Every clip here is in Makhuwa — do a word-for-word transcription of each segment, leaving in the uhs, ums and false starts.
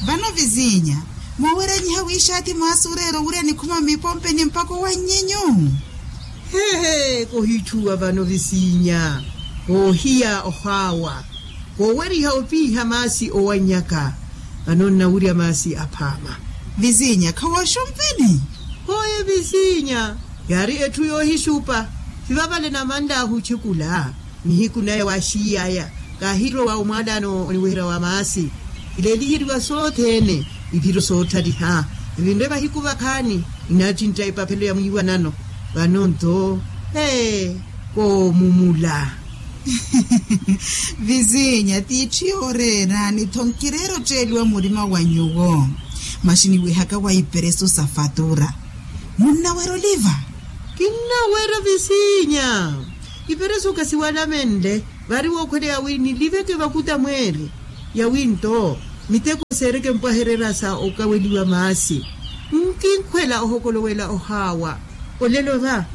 Vano vizinya, mooweranyiha wiixaati maasi oreera owurya nikhuma mmipompeni mpakha owannyenyu. Hehe, kohitthuwa vano vizinya, koohiya ohaawa, kooweriha opiiha maasi owannyaka. Vano nnawurya maasi aphaama. Vizinya khawooxompeni. Hooye vizinya, yaari etthu yoohixupa. Sivavale namanlaahu otthekula. Nihiku naya waaxiiy'aya, kaahirowa omwaalano oniweherya wa maasi. Ileeliheriwa sothene, iphiro soottaliha. Evinre vahiku vakhaani, nnattintta epaphelo ya mwiiwanano. Vano nto, ee, koomumula. Vizinya t'itthu yooreera ni tho nkireera otteeliwa murima wa nyuwo. Maxini wihaka wa iperesu sa fatura, munnawerya oliva? Kinnawerya vizinya. Iperesu kasiwalamenle, vari wookhweleya wi niliveke vakuta mweeri. Yawi nto, miteko seereke mpwahererya sa okaweliwa maasi. Nkinkhwela ohokolowela ohaawa. Olelo va,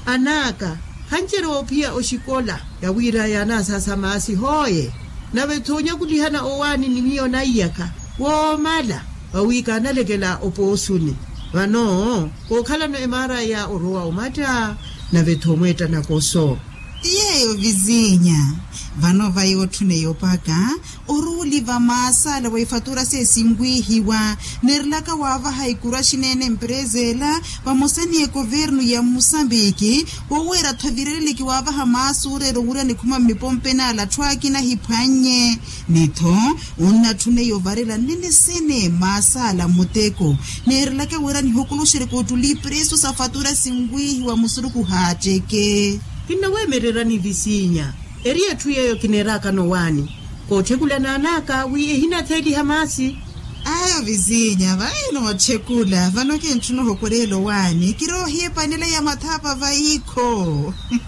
an'aka, khancerewa ophiya oxikola, yawira yaanasaasa maasi hooye. Nave-tho onyakulihana owaani ni miyo naiyaka woomala, vawi kaanalekela opoosuni. Vano kookhalano emaaraya orowa omatta, nave-tho omweetta nakoso. Ti yeeyo vizinya. Vano vayi otthuneya opaka, oruuli va maasi ala wa ifatura seesinwihiwa, neerelaka waavaha ikuru axineene empereza ela, vamosa ni ekovernu ya musambiki, woweera-tho evireleliki waavaha maasi oreera owurya nikhuma mmipompeni ala atthu akina ahiphwannye. Ni-tho, onnatthuneiya ovarela nnene sene maasi ala muteko, neerelaka wira nihokoloxereke ottuli iperesu sa fatura sinwihiwa musuruku haatteke. Kinnaweemererani vizinya. Eri etthu yeeyo kineeraakano owaani, kootthekulana an'aka wi ehinatheeliha maasi. Ayo vizinya vayi nootthekula vano kintthuna ohokoreela owaani kiroohiya epanela ya mathaapa vayi-kho.